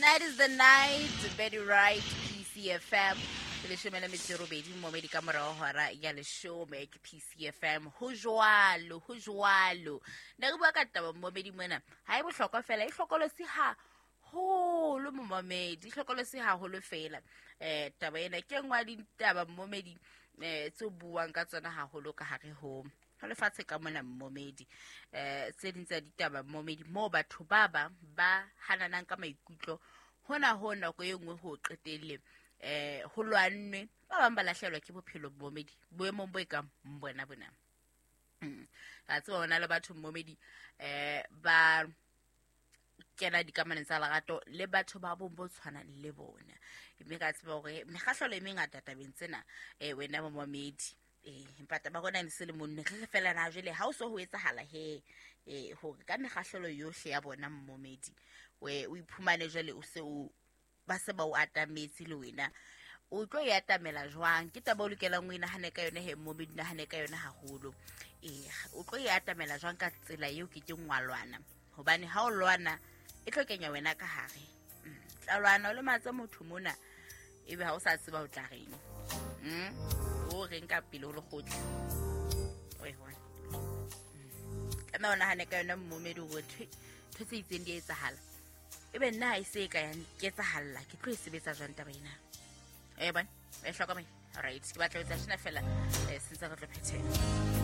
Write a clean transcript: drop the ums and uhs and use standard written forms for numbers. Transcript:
Tonight is the night, Betty Wright, PCFM. Leshome le metso e robedi momedi ka morago hora ya leshome ke PCFM. Ho jwalo, ho jwalo. Ne re bua ka taba momedi mona. Ha e bohlokwa fela, e hlokolosi haholo momamedi, e hlokolosi haholo fela. Taba ena ke e nngwe ya ditaba momedi tse buang ka tsona haholo ka hare ho ho lefatshe ka mona mmomedi. Tse ding tsa ditaba mmomedi moo batho ba bang ba hananang ka maikutlo hona ho nako e nngwe ho qetelle ho lwannwe, ba bang ba lahlehelwa ke bophelo mmomedi boemong bo e kang bona bona. Ra tseba hona le batho mmomedi ba kena dikamanong tsa lerato le batho ba bong bo tshwanang le bona, mme ka tseba hore mekgahlelo e mengata tabeng tsena wena momamedi. Empa taba rona ne se le monne re re fela na jwale ha o so ho etsahala he hore ka mekgahlelo yohle ya bona mmomedi we o iphumane jwale o se o ba se ba o atametse le wena o tlo e atamela jwang? Ke taba o lokelang o inahane ka yona he mmomedi, nahane ka yona haholo. O tlo e atamela jwang ka tsela eo ke keng wa lwana? Hobane ha o lwana e tlo kenya wena ka hare. Tla lwana o lematse motho mona ebe ha o sa tseba o tla reng. O reng ka pele ho lekgotla. O e bona. Tlameha o nahane ka yona mmomedi hore ntho tse itseng di a etsahala. Ebe nna ha e se e ka ya nketsahalla, ke tlo e sebetsa jwang taba ena? E bona, e hlokomele. All right, ke batla ho etsa tjena fela, sentse re tlo phethela.